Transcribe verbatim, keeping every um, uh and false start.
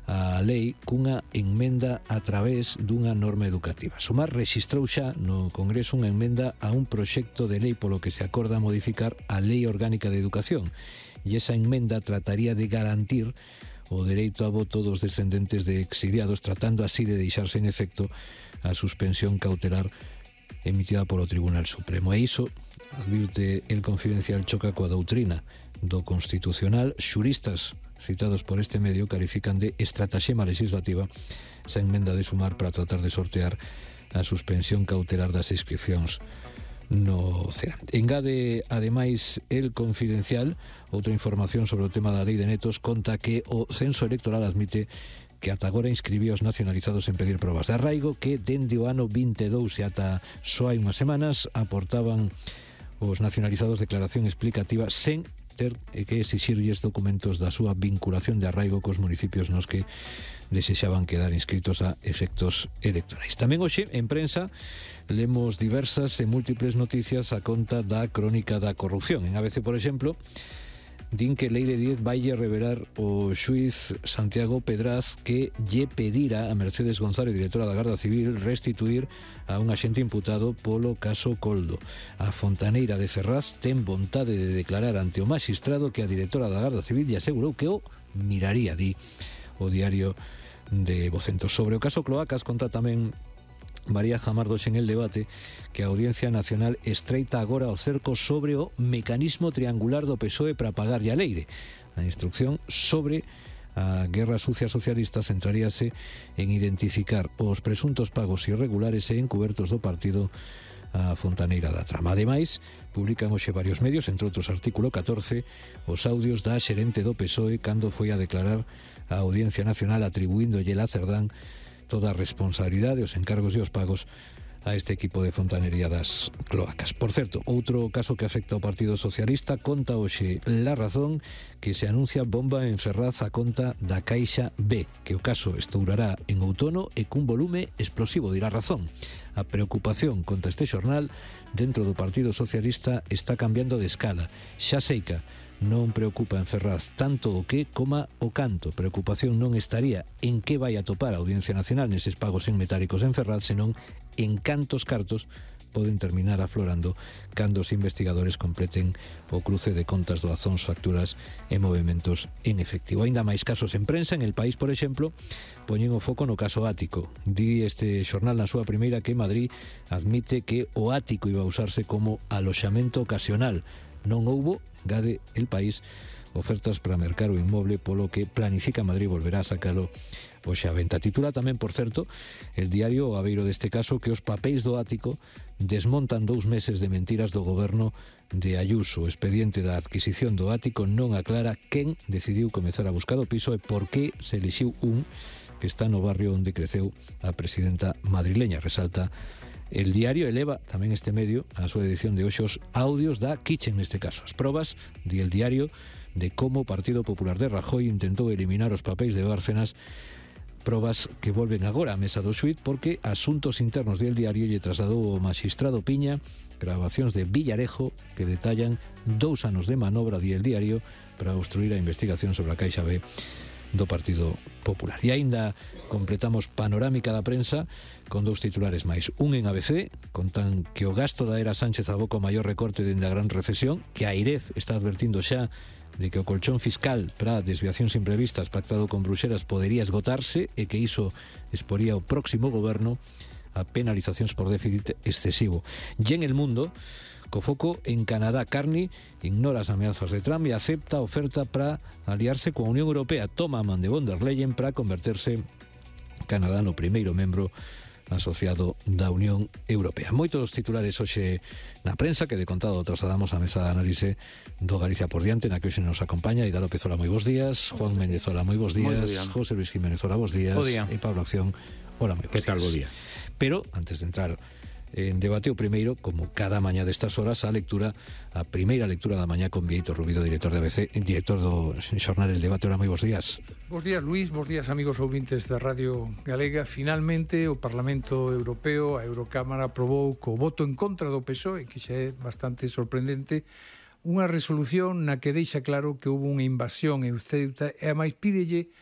a lei cunha enmenda a través dunha norma educativa. Sumar rexistrou xa no Congreso unha enmenda a un proxecto de lei polo que se acorda modificar a Lei Orgánica de Educación, e esa enmenda trataría de garantir o dereito a voto dos descendentes de exiliados, tratando así de deixarse en efecto a suspensión cautelar emitida polo Tribunal Supremo. E iso, advirte El Confidencial, choca coa doutrina do Constitucional. Xuristas citados por este medio califican de estratagema legislativa esa enmenda de Sumar para tratar de sortear a suspensión cautelar das inscripcións no C E A. Engade, ademais, El Confidencial outra información sobre o tema da lei de netos. Conta que o censo electoral admite que ata agora inscribió os nacionalizados en pedir probas de arraigo que dende o ano vinte e dous e ata só hai unhas semanas aportaban os nacionalizados declaración explicativa sen ter que exixirlles documentos da súa vinculación de arraigo cos municipios nos que desexaban quedar inscritos a efectos electorais. Tamén hoxe, en prensa, lemos diversas e múltiples noticias a conta da crónica da corrupción. En A B C, por exemplo, din que Leire Díez vaille revelar o xuiz Santiago Pedraz que lle pedira a Mercedes González, directora da Garda Civil, restituir a un axente imputado polo caso Coldo. A fontaneira de Ferraz ten vontade de declarar ante o maxistrado que a directora da Garda Civil lle asegurou que o miraría, di o diario de Vocentos. Sobre o caso Cloacas, conta tamén María Jamardos en El Debate que a Audiencia Nacional estreita agora o cerco sobre o mecanismo triangular do P S O E para pagarlle a Leire. A instrucción sobre a guerra sucia socialista centraríase en identificar os presuntos pagos irregulares e encubertos do partido a fontaneira da trama. Ademais, publican hoxe varios medios, entre outros artículo catorce, os audios da xerente do P S O E cando foi a declarar a Audiencia Nacional atribuíndolle a Cerdán toda a responsabilidade, os encargos e os pagos a este equipo de fontanería das cloacas. Por certo, outro caso que afecta ao Partido Socialista, conta hoxe La Razón que se anuncia bomba en Ferraz a conta da Caixa B, que o caso estourará en outono e cun volume explosivo, dirá Razón. A preocupación, conta este xornal, dentro do Partido Socialista está cambiando de escala. Xa seica non preocupa en Ferraz tanto o que coma o canto. Preocupación non estaría en que vai a topar a Audiencia Nacional neses pagos en metálicos en Ferraz, senón en cantos cartos poden terminar aflorando cando os investigadores completen o cruce de contas, doazóns, facturas e movimentos en efectivo. Ainda máis casos en prensa. En El País, por exemplo, poñen o foco no caso Ático. Di este xornal na súa primeira que Madrid admite que o ático iba a usarse como aloxamento ocasional. Non houbo, engade El País, ofertas para mercar o inmoble, polo que planifica Madrid volverá a sacalo hoxe a venta. Titula tamén, por certo, el diario o abeiro deste caso que os papéis do ático desmontan dous meses de mentiras do goberno de Ayuso. O expediente da adquisición do ático non aclara quen decidiu comezar a buscar o piso e por que se elixiu un que está no barrio onde creceu a presidenta madrileña. Resalta El Diario. Eleva tamén este medio a súa edición de hoxe os audios da Kitchen, neste caso. As probas, di El Diario, de como o Partido Popular de Rajoy intentou eliminar os papéis de Bárcenas, probas que volven agora á mesa do xuíz porque Asuntos Internos de El Diario lle trasladou ao magistrado Piña grabacións de Villarejo que detallan dous anos de manobra, di El Diario, para obstruir a investigación sobre a Caixa B do Partido Popular. E aínda completamos panorámica da prensa con dous titulares máis. Un en A B C, contan que o gasto da era Sánchez aboca o maior recorte dende a gran recesión, que a AIREF está advertindo xa de que o colchón fiscal para desviacións imprevistas pactado con Bruxelas podería esgotarse e que iso exporía o próximo goberno a penalizacións por déficit excesivo. E en El Mundo, co foco en Canadá, Carney ignora as ameazas de Trump e acepta a oferta para aliarse coa Unión Europea. Toma a man de von der Leyen para converterse Canadá no primeiro membro asociado da Unión Europea. Moitos titulares hoxe na prensa que de contado trasladamos á mesa de análise do Galicia por diante, na que hoxe nos acompaña Ida López, hola, moi bons días. Juan Méndez, hola, moi bons días. José Luis Jiménez, hola, bons días. E Pablo Acción, hola, moi bons días. Que tal, bo día? Pero, antes de entrar en debate, o primeiro, como cada mañá destas horas, a lectura, a primeira lectura da mañá con Vieito Rubido, director de A B C, director do xornal El Debate. Hola, moi bons días. Bos días, Luís, bos días, amigos ouvintes da Radio Galega. Finalmente, o Parlamento Europeo, a Eurocámara, aprobou co voto en contra do P S O E, que xa é bastante sorprendente, unha resolución na que deixa claro que houve unha invasión en Ceuta e, a máis, pídelle